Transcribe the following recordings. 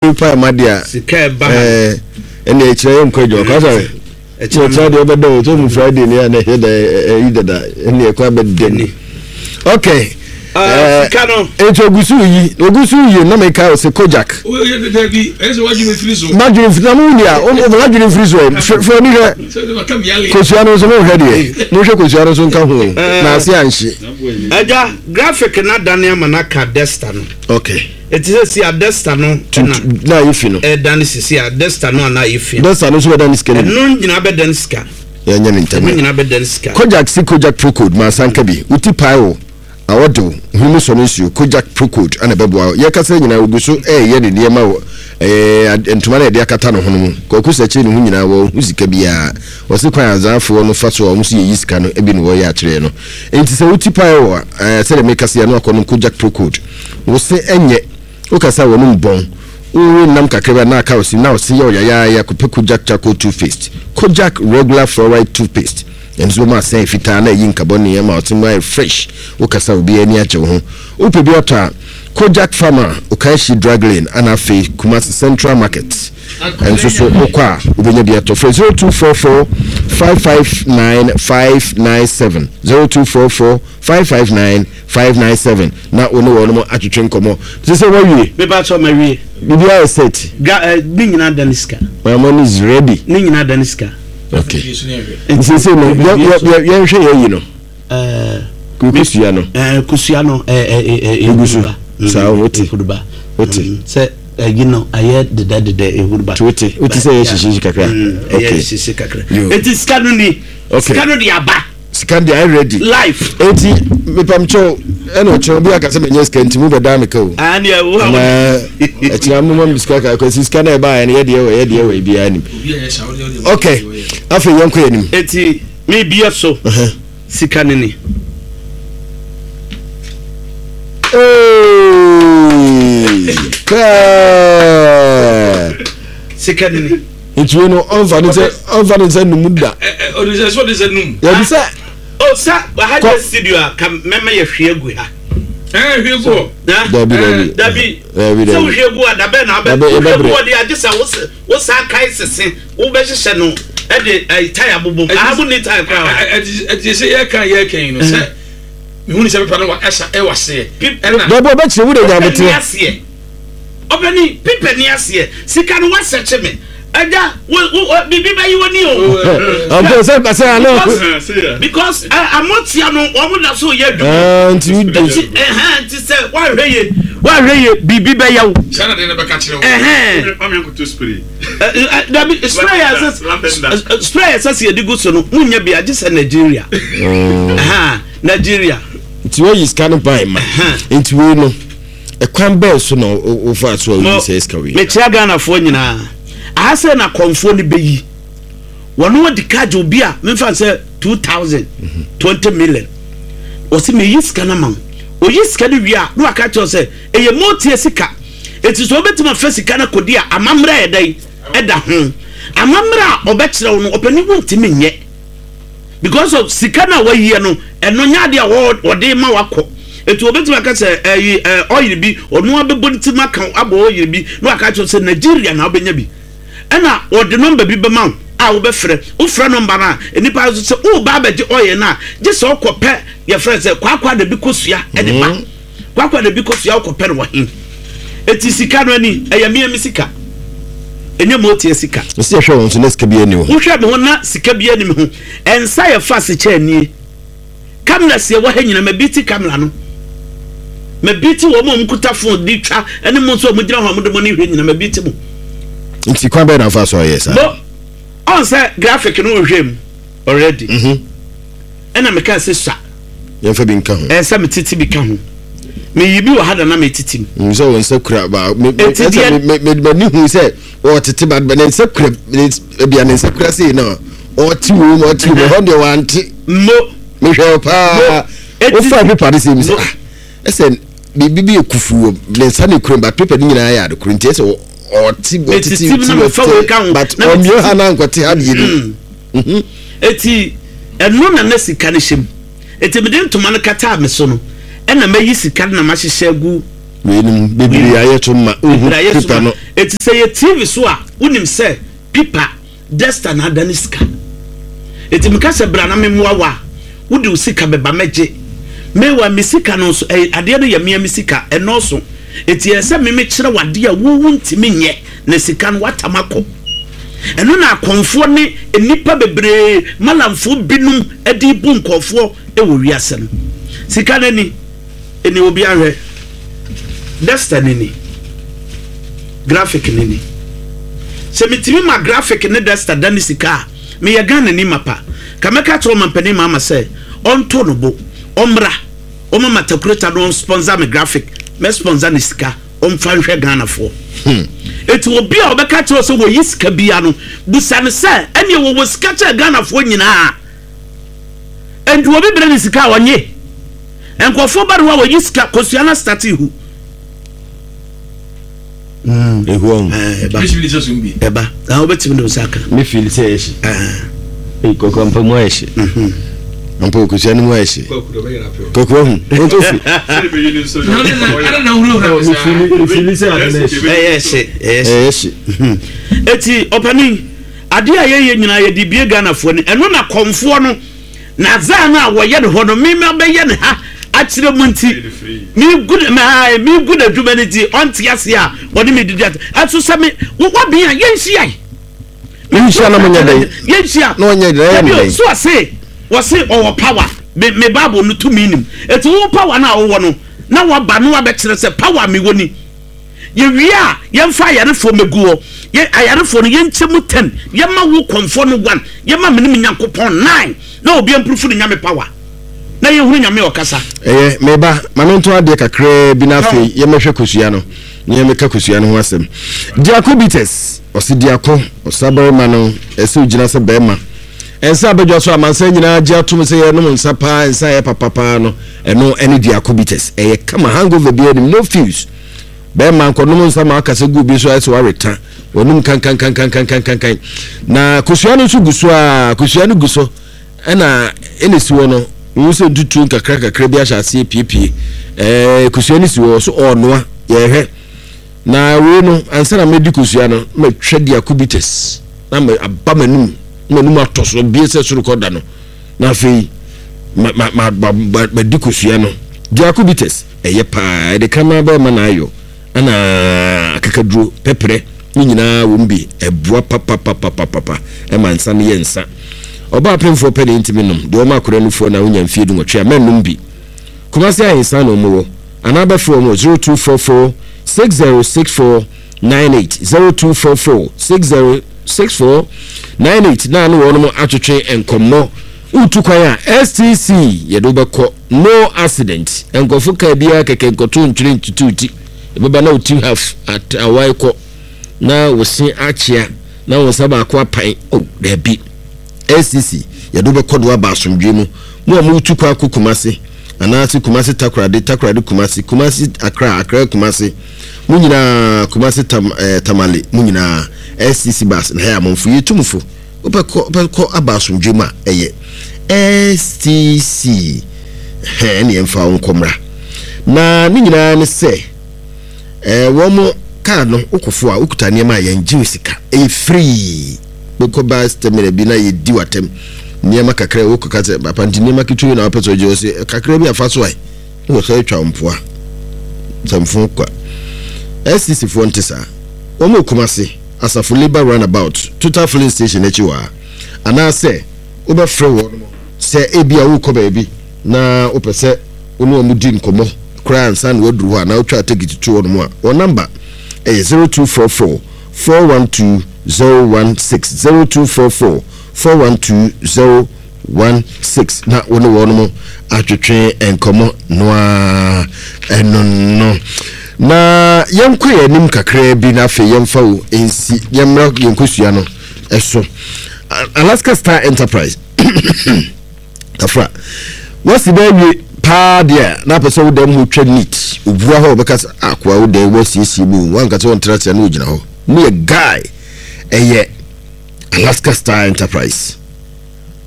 Nipa ɛma deɛ a. Sika ɛba ha. Ɛɛ ɛna ɛkyerɛ yɛ nkɔ adwuma kwan sɛ. Ɛkyerɛ deɛ ɔbɛda o tó mu Friday ni a na ɛyɛ dɛ ɛyi dada ɛna ɛkɔ abɛda mu. Okay. Sika no. Etu ogusu yi ogusu yi na mi ka ɔsɛ Kojak. Dabi ɛsɛ wadwene firi so. Madwene firi na mo wuli a o madwene firi so ɛ fɛ ni hwɛ kosua no nso mo hwɛ deɛ mo hwɛ kosua no nso nka ho na ase anhye. Ɛgya graphic na dane ama na ka desta no. Okay. Eti sɛ si a desta no na na ayɛ fi no. Ɛdane sisi a desta no a na ayɛ fi no. Desta no nso bɛdane sika no bi. Ɛno nyinaa bɛdane sika. Yɛnyɛ ne ntɛm. Ɛno nyinaa bɛdane sika. Kojak si Kojak Procold ma asanka bi. Wo ti pae wo, awɔ de wo, hwene mu sɔ no nsuo. Kojak Procold na ɛbɛboa wo. Yɛkasa nyinaa ogu so reyɛ ne nneɛma wɔ ɛɛ ntoma no a yɛde akata ne ho no mu. Kwaku Sɛkyere ne ho nyinaa wɔnhu sika biara. Ɔse kwan a Azaafoɔ no fa so a wɔn nso yɛyi sika no bi na wɔyɛ akyerɛ no. Enti sɛ wo ti pae wo a, ɛɛ sɛdeɛ mekasa yi a na wakɔnom Kojak Procold. Wo se ɛnyɛ, wokasa a w'anum bɔn, wowe nam kakra bi a na aka wo se, na wo se yɛ wo yayaaya, kɔpɛ Kojak Charcoal Toothpaste, Kojak Regular Fluoride Toothpaste, ɛno nso bɛma asen ayɛ fitaa na ayi nkabɔne ama wo se mu ayɛ fresh, wokasa a obiara ani agye wo ho. Wopɛ bi atɔ a, Kojak Pharma, Okaishie Drug Lane ana afei Kumasi Central Market nso so wokɔ a wobɛnya bi atɔ. Frɛ 0244 559 597, 0244 559 597 na wo ne wɔnom atwetwe nkɔmmɔ. Te sɛ woawie? Me pa kyɛw mawie. Biribiara yɛ set? Ga eh, ne nyinaa da ne sika. My money is ready. Ne nyinaa da ne sika. Okay. Nti sɛ no yɛnhwɛ yɛ yi no. Eh, kosua no. Eh, kosua no eh eh eh egu so. Saa wote. Wote. Sɛ ɛyi no ayɛ deda deda ehuruba. Wote wote sɛ ɛyɛ hyehye kakra. Ɛyɛ hyehye kakra. Eti sika no ni. Sika no de aba. Sika deɛ ayɛ ready. Life. Eti mepamkyɛw ɛna ɔkyerɛ obi aka sɛ menya sika nti mo bɛdaa me ka o. Ani ɛwo a. Na ɛkyerɛ mo ma me sika ka kwasi sika na ɛbaeɛ no yɛdeɛ wɔ yɛdeɛ wɔ ebiara nim. Okay afei yɛnkɔ yɛn anim. Eti mebie so sika no ni. Sika no ni. Nti wei no ɔnfa ne sɛ ɔnfa ne nsa num da. Ɔde sɛ so ɔde sɛ num. Yɛbi sɛ. O sa ha yɛ studio a ka mɛmɛ yɛ hwie gu ha. Ɛɛ hwie gu hɔ. Dabi dabi. Dabi. Dabi dabi. Sɛ wohwie gu a dabɛ na abɛ wohwie gu hɔ de agye sɛ wo saa kae sese wobɛhyehyɛ no ɛde ɛyi tae abobom. Aha mo ni tae koraa. Ɛti sɛ yɛka yɛka yi no sɛ mehu ne sɛ pepa no wa ɛsa ɛwɔ aseɛ. Ɛna. Dabi ɔbɛkyerɛ wo de nyaboteɛ. Ɔpanin, pipa ni aseɛ, sika no wasɛkye me. Agya, wo, wo, biribi bɛyi w'ani o. Ɔmpɛ sɛ sɛ ano. Because amotia no wɔn da so yɛ adwuma. Ah, nti wo di. Nti ɛhɛn nti sɛ wahwɛ yie wahwɛ yie biribi bɛyɛ wo. Sɛ na de ne bɛka kyerɛ wo. Ɛhɛn. Mami akoto spray. Dabi spray yɛ sɛ spray yɛ sɛ sɛ yɛde gu so no mu nyɛ bi agye sɛ Nigeria. Ɛhɛn Nigeria. Nti wɔyi sika no ban ma. Nti wei no. Ɛkwan bɛn so na wofaa so a woyi saa sika wei? Mekyea Ghanafoɔ nyinaa. Aha sɛ na kɔmfoɔ no bɛyi. Wɔn adi ka gye obi a memfa sɛ 2000, 20 million. Wɔsi meyi sika no ama wo. Oyi sika no wie a na waka kyerɛ sɛ ɛyɛ motie sika. Eti sɛ wobɛtumi afa sika no akɔdi a amammerɛ a ɛdɛn ɛda ho. Amammerɛ a ɔbɛkyerɛ wo no ɔpanin wontumi nyɛ. Because of sika no a wayiɛ no ɛno nyɛ adeɛ a wɔde ma wakɔ eti obetumi aka sɛ ɛyi ɛ ɔyere bi ɔno abɛbɔ ne ti mu aka abɔ ɔyere bi na waka kyerɛ sɛ Nigeria na wobɛnya bi ɛna ɔde nɔmba bi bɛma wo a wobɛfrɛ wofrɛ nɔmba no a nnipa nso sɛ woba abɛgye ɔyɛ no a gye sɛ ɔkɔpɛ yɛfrɛ sɛ kwaakwa na bi kosua ɛde ba mm. Kwakwa na bi kosua wokɔpɛ no wɔ he? Eti sika no ani ɛyɛ mea me sika ɛnyɛ motia sika. Ɛsɛ yɛhwɛ wɔn so na sika bi ani wo ho. Wohwɛ me ho na sika bi ani me ho. Ɛnsa yɛ fa asekyɛ nie. Kamera si ɛwɔ ha nyina ma bi ti kamera no. Ma bi ti wɔn a wɔn kuta phone de twa ɛne mo nso a wɔn gyina hɔ a wɔn de mo ani hwɛ nyina ma bi ti mo. Nti kwan bɛyɛ na afa so ayɛ saa? Bo ɔn sɛ graphic no wohwɛ mu already. Mhm. Ɛna meka sɛ sua. Yɛmfa bi nka ho. Ɛsɛ sɛ metete bi ka ho. Meyi bi wɔ ha da na metete mu. Mm, sɛ wɔn nsa kura ba me me ɛsɛ me me m'ani hu sɛ ɔtete ba ne nsa kura ne ebia ne nsa kura sei na ɔte wɔ mu ɔte wɔ mu ɛhɔ deɛ wante. Mo. Mehwɛ paa. Wofa pepa de sɛ mi sɛ ah ɛsɛ biribi bi yɛ kufu wɔ ne nsa ne kura ba pepa ne nyinaa yɛ adekoro nti ɛsɛ ɔte ɔtete ti ɔte but ɔmio ha na nkɔte ha deɛ bi. Mm. Eti ɛno na na sika no hyɛ mu. Enti mede ntoma no kataa me so no, ɛnna mayi sika no na mahyehyɛ agu. Weinom bebree ayɛ to ma wohu pipa no. Eti sɛ yɛ TV so a wonim sɛ pipa Desta na adane sika. Eti meka sɛ bra na memmoa wo a, wode wo sika bɛba mɛgye. Meanwhile me sika no nso ɛyɛ adeɛ no yɛ mea me sika, ɛnnɔɔso. Eti ɛyɛ sɛ me mekyerɛ wo adeɛ a wo wontumi nyɛ na sika no woatam akɔ. Ɛno na akɔmfoɔ ne nnipa bebree, malamfoɔ binom de rebu nkurɔfoɔ wɔ wiase no. Sika no ani. Ɛni obi ahwɛ. Desta no ni. Graphic no ni. Sɛ metumi ma graphic ne Desta da ne sika a, meyɛ Ghanani mapa. Ka mɛka akyerɛ ɔmampanin Mahama sɛ ɔnto no bo, ɔmmra, ɔmma Matakureta no ɔnsponsor me graphic, mɛ sponsor ne sika, ɔmfa nhwɛ Ghanafoɔ. Eti obi a ɔbɛka akyerɛ wo sɛ wɔyi sika biara no, busa no sɛ ɛneɛ wɔwɔ sika kyɛn Ghanafoɔ nyinaa? Enti obi brɛ ne sika a ɔnye. Nkurɔfoɔ ba ne hɔ a wɔyi sika kosua na starte hu. Mm. Ehu ɔn. Eh, ɛba. Ɛba. Na wobɛtumi de wo nsa aka. Me feel sɛ ɛyɛ hye. Ee kɔkɔ mpa mu ayɛ hye. Mhm. Mpa okosua no mu ayɛ hye. Kɔkɔ ahu. Ɔntɔ fi. Me feel sɛ ade no ɛhye. Ɛyɛ hye. Ɛyɛ hye. Eti ɔpanin. Adeɛ a yɛyɛ nyinaa yɛde bue Ghanafoɔ ani, ɛno na kɔmfoɔ no n'adzaa no a wɔyɛ no hɔ no me mabɛyɛ no ha akyerɛ mu nti megu ne megu n'adwuma no nti ɔnte aseɛ a ɔne me didi ate ɛso sɛ me wabea yɛnhyiae Yɛnhyia na monyɛ dɛn? Yɛnhyia na ɔnyɛ dɛn? Ɛyɛ dɛn? So ɔse wɔse ɔwɔ power me me Bible no tumi nim eti wo power no a wowɔ no na waba no wabɛkyerɛ sɛ power mewɔ ni. Yɛwie a, yɛmfa ayarefoɔ mmɛgu hɔ. Yɛ, ayarefoɔ no, yɛnkyɛ mu ten. Yɛma wo kɔmfoɔ no one. Yɛma me ne me Nyankopɔn nine. Na obiara mpurufu ne Nyame power. Na yɛnhunu Nyame a ɔkasa. Ɛyɛ, me ba, ma mentɔn adeɛ kakraa bi na afei yɛmmɛhwɛ kosua no, na yɛmmɛka kosua no ho asɛm. Diako Bitters, ɔse Diako, ɔsabarima no, ɛsɛ ogyina sɛ barima. Nsa a badwa so amansan nyinaa gye atom sɛ yɛnom nsa paa, nsa a ɛyɛ papa paa no, ɛno ne Diako Bitters. Ɛyɛ kama, hangover biara nnim, no fuse. Bɛrima nkɔnom nsa ma akasa gu obi so ayɛ sɛ waweta w'anum kankankankankankankan. Na kosua no nso gu so a, kosua no gu so ɛna ɛna esi hɔ no, wohu sɛ ntutuo nkakra kakra bi ahyɛ aseɛ piepie. Ɛɛ kosua no si hɔ so ɔɔnoa, yɛhwɛ. Na wei no, ansa na mɛdi kosua no, matwa diako bitters na aba m'anum, m'anum atɔ so bie sɛ soro kɔ da no. Na afei ma ma ma ma madi kosua no. Diako bitters. Ɛyɛ paa, ɛde kraman bɛrima na ayɔ, ɛna akakaduro, pɛprɛ, ne nyinaa wɔ mu bi. Ɛboa papapapapapa ɛma nsa no yɛ nsa. Ɔbaa pemfoɔ pɛ na ɛntumi nom, deɛ ɔma akwadaa nufoɔ na wonya mfie dunwɔtwe a, mɛnnom bi. Kumasi Ahensan na wɔn wɔ, anaa bɛfrɛ wɔn wɔ 0244 6064 98, 0244 6064 98 na ne wɔn atwetwe nkɔmmɔ. Woretu kwan a, STC yɛde wo bɛkɔ. No accident. Nkurɔfo kaa biara kɛkɛ nkɔto ntwene ntutu ti. Ɛbɛba na wo ti half at awae kɔ na wo se akyea na wo nsa baako apan. Oh, daabi. SCC, yɛde wo bɛkɔ do aba asomdwoe mu. Mo a moretu kwan akɔ Kumasi, anaase Kumasi Takoradi, Takoradi Kumasi, Kumasi Accra, Accra Kumasi, mo nyinaa, Kumasi Tam, eh, Tamale, mo nyinaa, SCC bus na ɛyɛ a momfo. Yɛtu mo fo. Wobɛkɔ wobɛkɔ aba asomdwoe mu a, ɛyɛ STC. Hɛn ɛne ɛmfa wo nkɔ mmra. Na ne nyinaa ne sɛ, ɛɛ wɔn kaa no wokɔfo a wokuta nneɛma a yɛngye wo sika. Ɛyɛ free. Wokɔ bus terminal bi na yɛdi w'atɛm. Nneɛma kakra wokɔka sɛ papa nti nneɛma ketewa yi na wopɛ sɛ ɔgye ɔse kakra bi afa so ae. Na wɔsan atwa wo mpoa. Sɛmfo kwa. STC foɔ nte saa. Wɔn wɔ Kumasi. Asafo Labour Runabout, Total Filling Station akyi hɔ ara, anaasɛ wobɛfrɛ wɔn sɛ ebia worekɔ baabi na wopɛ sɛ wo ne wɔn di nkɔmmɔ koraa ansa na woaduru hɔ anaa wotwa tekiti to wɔn a, wɔn namba yɛ 0244 412 016, 0244 412 1 6 na wo ne wɔnom atwetwe nkɔmmɔ no ara ɛno no na yɛnkɔ yɛn anim kakraa bi na afei yɛmfa wo nsi yɛmmra yɛn kosua no ɛso Alaska Star Enterprise kafra wasi bɛɛ wie paa deɛ na apɛ sɛ wo dɛm hɔ twa neat obua hɔ ɔbɛka sɛ akoa wo dɛm wasiesie mu wanka sɛ ɔntra ase na ɔgyina hɔ mu yɛ guy ɛyɛ Alaska Star Enterprise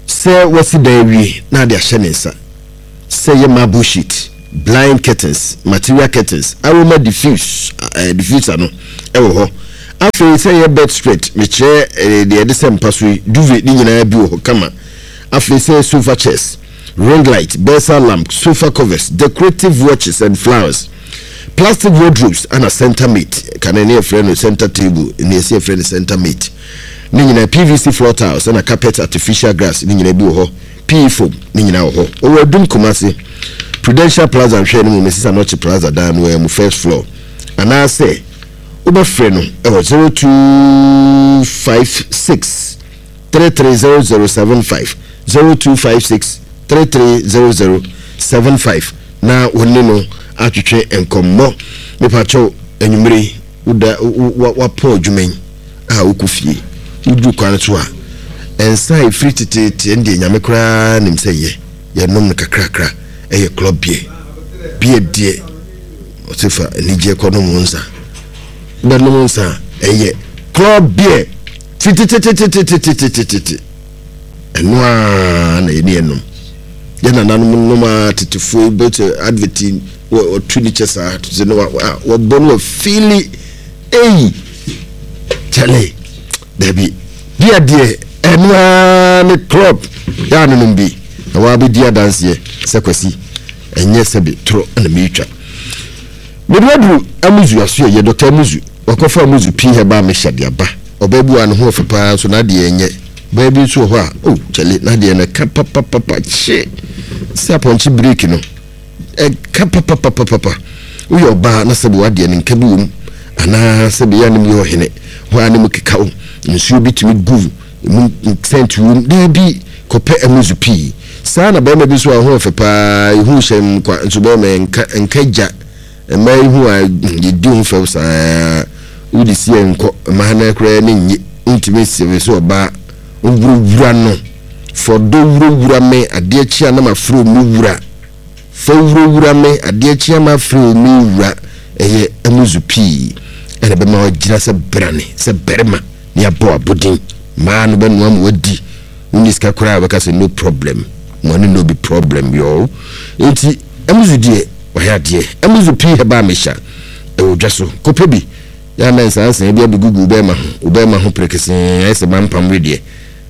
Sɛ wasi dan awie na ade ahyɛ ne nsa, sɛ ɛyɛ marble sheet, Blind curtains, material curtains, aroma diffuse, eh, diffuser no ɛwɔ hɔ. Afei sɛ yɛ bed spread, mekyerɛ eh, deɛ yɛde sɛ mpa so yi, duvet ne nyinaa bi wɔ hɔ kama. Afei sɛ sofa chairs, ring light, bedside lamp, sofa covers, decorative watches and flowers, plastic wardrobes ana center mate, kane ne yɛfrɛ no center table, ne yɛsi yɛfrɛ no center mate. Ne nyinaa PVC floor tiles ana carpet artificial grass ne nyinaa bi wɔ hɔ. PE foam ne nyinaa wɔ hɔ. Ɔwɔ Adum Kumasi, Prudential Plaza nhwɛɛ no mu Mrs Anokye Plaza dan no ara mu first floor. Anaasɛ wobɛfrɛ no wɔ 0256 330075, 0256 330075 na wo ne no atwetwe nkɔmmɔ. Mepakyɛw, anwummere yi, woda wapɔn adwuma yi a wokɔ fie, woduru kwan so a, nsa a ɛfiri teteete ɛndeɛ Nyame koraa nim sɛ yɛ yɛnom no kakrakra, ɛyɛ club beer. Beer deɛ ɔse fa anigyeɛ kɔ nom wo nsa. Wobɛnom nsa a ɛyɛ club beer firi tetetetetetetetete. Ɛno ara na yɛne yɛnom. Yɛ nananom nom a tetefoɔ yi bɛsɛ advert yi wɔtu ne kyɛ saa sɛ no wɔbɔ no wɔfili ei kyɛle dabi bia deɛ ɛno ara ne club yɛ anonom bi na wɔabɛdi adanseɛ sɛ Kwasi ɛnyɛ sɛbe toro na meretwa. Mede waduru Amuzu aso ɛyɛ Dɔkta Amuzu wakɔfa Amuzu pii herbal mixture de aba. Ɔbaa bi wɔ a ne ho ɔfɛ paa nso n'adeɛ ɛnyɛ. Ɔbaa bi nso wɔ hɔ a oh kyale n'adeɛ no ɛka papapapa kye sɛ apɔnkye break no ɛka papapapapa. Woyɛ ɔbaa na sɛbe w'adeɛ no nka bi wɔ mu anaa sɛbe yɛ a ne mu yɛ ɔhene hɔ a ne mu keka wo nsuo bi tumi gu Emu sɛnti wom? Dabi, kɔpɛ amuzu pii. Saa na barima bi nso a ɔho ɔfɛ paa, ehu hyɛ mu kwa, nso barima yɛ nka, nka gya. Mmaa yi ho a yɛdi ho fɛw saa, wode si yɛ nkɔ, mmaa no koraa ani nnye, wontumi nsere sɛ ɔbaa, wurawura no, fa ɔdɔ wurawura me, adeɛ kye a na mafrɛ wo me wura, fa wurawura me, adeɛ kye a mafrɛ wo me wura, ɛyɛ amuzu pii ɛna ɛbɛma wagyina sɛ brane, sɛ barima. Ne abɔ abodin maa no bɛnoa ma wadi wonni sika koraa wobɛka sɛ no problem money no be problem yoo nti Amuzu deɛ wayɛ adeɛ Amuzu pii herbal mixture ɛwɔ dwa so kɔpɛ bi yɛ ana nsansan bi abɛgugu wo bɛɛma ho wo bɛɛma ho perekesee ayɛ sɛ mampam wedeɛ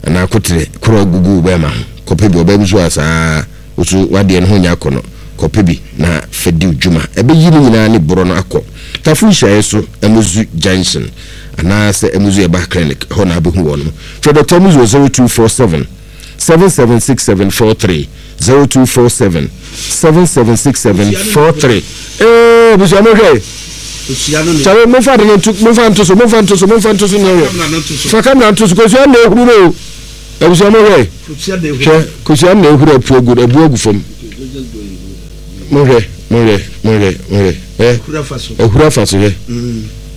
anaa koterɛ korɔ gugu wo bɛɛma ho kɔpɛ bi ɔbaa bi so a saa Wo so w'adeɛ no ho nyɛ akɔnɔ, kɔpɛ bi na fa di wo dwuma. Ɛbɛyi ne nyinaa ne borɔ no akɔ. Tafo nhyiaeɛ so, Amuzu Junction anaasɛ Amuzu Herbal Clinic, ɛhɔ na wobɛhu wɔnom. Frɛ Dɔkta Amuzu wɔ 0247 776743, 0247 776743. Ee, abusua monhwɛ. Kyale, momfa ade no nto, momfa nto so, momfa nto so, momfa nto so na ɛhwɛ. Fa kamera nto so, kosua na ehuru no o. Abusua mo hwɛ. Hwɛ kosua na ehuru apu agu abu agu fam. Mo hwɛ, mo hwɛ, mo hwɛ, mo hwɛ. Ɛ ehuru afa so hwɛ.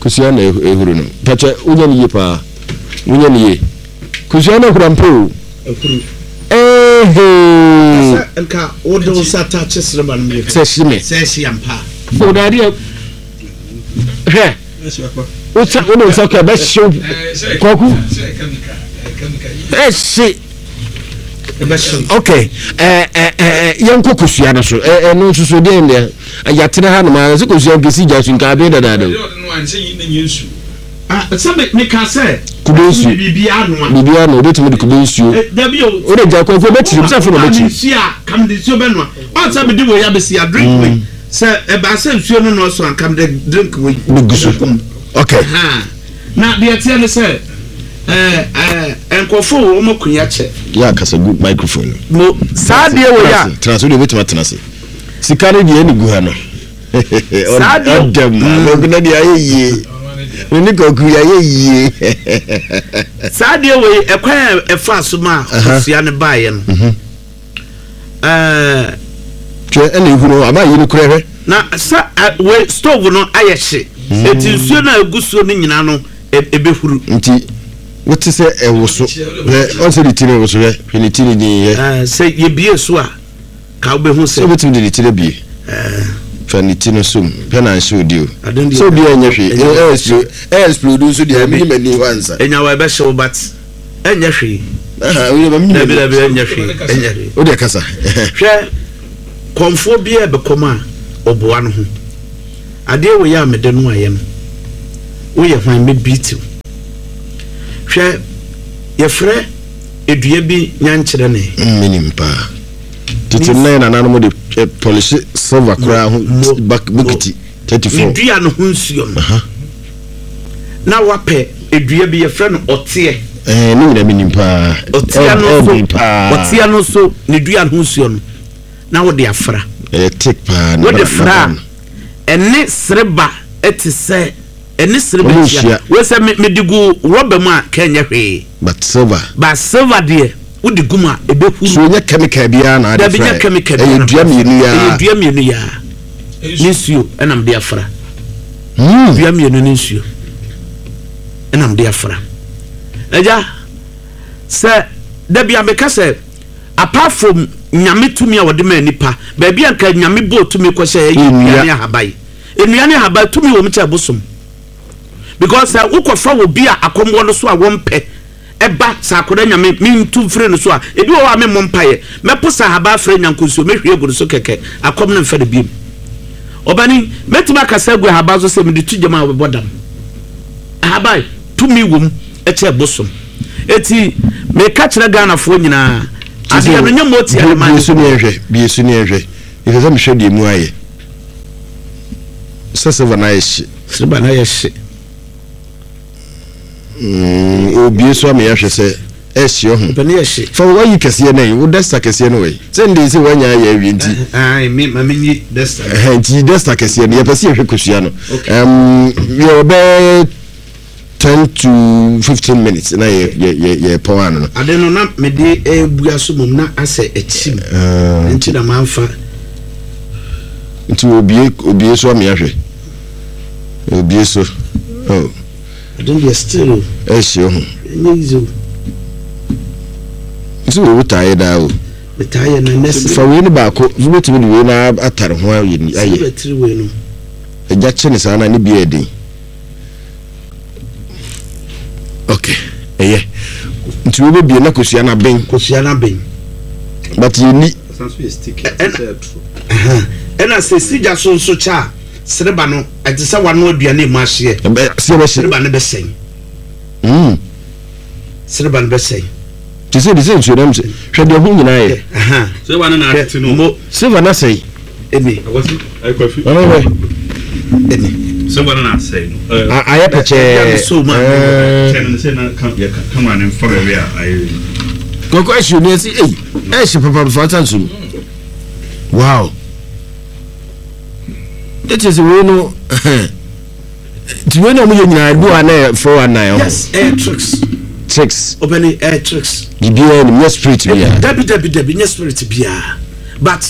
Kosua na ehuru no. Pakyɛ wonya ne yie paa. Wonya ne yie. Kosua na ehuru ampa o. Ehuru. Ehee. Sɛ nka wode wo nsa taakye sereba no mmienu. Sɛ hye me. Sɛ hye ampa. O daade hwɛ. Wosa wo ne nsa kɔ ɛbɛhyew kwaku ɛhye ok yɛnkɔ kosua no so ɛno nso so deɛ deɛ yɛatena ha nom a sɛ kosua nkɛsi gya so nka aben dadaada o sɛ meka sɛ kube nsuo biribiara noa biribiara noa obetumi de kube nsuo wode gya kwaku obɛkyiri sɛ afei na ɔbɛkyiri nsuo a kam de nsuo bɛnoa ɔn sɛ mede wei abɛsi a drink wei Sɛ ɛbaa sɛ nsuo no nnɔɔso a, anka mede drink wei Bɛgu so. bɛgu mu. Okay. Ahaa. Na deɛ ɛteɛ ne sɛ, ɛɛ, ɛɛ, nkurɔfoɔ wɔ wɔn akonnwa kyɛ. Yɛ akasa gu microphone no. Mo, saa adeɛ wei a. Tena ase, wode wobɛtumi atena ase. Sika no deɛ ɛne gu ha no. Saa adeɛ. Ɔdɛm, kwaku na deɛ ayɛ yie. Me ne kwaku yɛayɛ yie. Saa adeɛ wei, ɛkwan a ɛfaa so maa kosua no baeɛ no. Ɛɛ. Hwɛ ɛna ehuru hɔ aba yi no korɛ hwɛ. Na sɛ wei stove no ayɛ hye. Eti nsuo no a egu soɔ no nyinaa no ebehuru. Nti wote sɛ ɛwoso hwɛ ɔn sɛ ne ti no ɛwoso hwɛ hwɛ ne ti no din hwɛ. Ɛɛ sɛ yɛbie so a ka wobɛhu sɛ. Sɛ wobɛtumi de ne ti no abie. Ɛɛ. Fa ne ti no som hwɛ na nhyɛ odi o. Sɛ obi ɛnyɛ hwee ɛɛ explode nso deɛ ɛmi ni ma ni hɔ ansa. Enyawa ɛbɛhyew but. Ɛnyɛ hwee. Dabi dabi ɛnyɛ hwee ɛnyɛ hwee. O deɛ kasa. Hwɛ kɔnfoɔ bi a ɛbɛkɔm a. Ɔboa no ho. Adeɛ wei a mede no ayɛ no, woyɛ hwan mɛ beat wo. Hwɛ, yɛfrɛ edua bi nyankyerɛ ne. Menim paa. Tete no na yɛ nananom de pɔlihye silver koraa ho bokiti 34. Ne dua no ho nsuo no. Na wapɛ edua bi yɛfrɛ no ɔteɛ. Ɛɛ ne nyinaa menim paa. Ɔteɛ no so ɔteɛ no so ne dua no ho nsuo no na wode afra. Ɛyɛ thick paa. Wode fra a ɛne sereba te sɛ ɛne sereba hyia. Wei sɛ mede gu rɔba mu a kɛnyɛ hwee. But silver. But silver deɛ wode gu mu a ɛbɛhuru. So nyɛ chemical biara na ade fra. Dabi nyɛ chemical biara. Ɛyɛ dua mmienu yaa. Ɛyɛ dua mmienu yaa. Ne nsuo ɛna mede afra. Dua mmienu ne nsuo ɛna mede afra. Agya sɛ dabi a meka sɛ apart from nyame tumi a wɔde maa nipa baabi a nka nyame bɔɔ tumi kɔhyɛ ɛyɛ nnua ne ahaban. Nnua ne ahaban tumi wɔ mu kyɛ bosom. Because sɛ wokɔfa wɔ bi a akɔm wɔ no so a wɔmpɛ ɛba sɛ akwadaa nyame mentu mfiri no so a ebi wɔ hɔ a memmɔ mpaeɛ mɛpo sɛ ahaban afrɛ nyankonsuo mɛhwie agu no so kɛkɛ akɔm no mfa no biem ɔbani mɛtumi akasa agu ahaban so sɛ mede to gyam a wɔbɛbɔ dam ahaban tumi wɔ mu ɛkyɛ bosom eti meka kyerɛ Ghanafoɔ nyinaa adeɛ no nyɛ mɔti a ɛma bie so ne ɛhwɛ bie so ne ɛhwɛ ɛsɛ sɛ mehwɛ deɛ mu ayɛ sɛ silver no ayɛ hye silver no ayɛ hye Mm, obie so ama yɛahwɛ sɛ ɛhye ɔho. Ɔpɛ ne yɛ hye. Fa wayi kɛseɛ no yi, wo desta kɛseɛ no wɔ sɛ nde sɛ wanya ayɛ awie nti. Ayi, me ma me nyi desta. Ɛhɛn, nti desta kɛseɛ no, yɛpɛ sɛ yɛhwɛ kosua no. Um, yɛwɔ bɛyɛ 10 to 15 minutes na yɛ yɛ yɛ yɛ pɔn ano no. Ade no na mede ebua so mom na asɛ akyim. Nti na manfa. Nti obie obie so ama yɛahwɛ. Obie so. Oh. Ade deɛ still o. Ɛhyɛ ho. Ɛnyɛ easy o. Nti wo taa yɛ daa o. Metaa yɛ na nɛse. Fa wei no baako, wobɛtumi de wei no atare ho ayɛ. Sɛ bɛtiri wei no. Agya kye ne saa na ne bi yɛ den. Ok, ɛyɛ. Nti wobɛbie na kosua no aben. Kosua no aben. But yɛni. Ɛna sɛ sigya so nso kyɛ a. Sereba no, ɛte sɛ wanoa aduane a emu ahyeɛ. Seɛ bɛhye. Sereba no bɛsɛe. Mm. Sereba no bɛsɛe. Te sɛ de sɛ nsuo nam sɛ hwɛ deɛ ho nyinaa yɛ. Sereba no na atete no. Mo. Sereba no asɛe. Ɛni. Akwasi, akwafi. Ɔno hwɛ. Ɛni. Sereba no na asɛe no. Ayɛ pɛkyɛɛ. Kyɛ no sɛ na kamera no mfa baabi a ayɛ. Kɔkɔ ɛhye ni ɛsi ei ɛhye papa fa nsa nso mu. Wow. Ne kyerɛ sɛ wei no nti wei na ɔmo yɛ nyinaa ebi wɔ ha na yɛ 419 ɔho. Yes, ɛyɛ tricks. Tricks. Ɔbɛni ɛyɛ tricks. Bibiara nim nyɛ spirit biara. Dabi dabi dabi nyɛ spirit biara but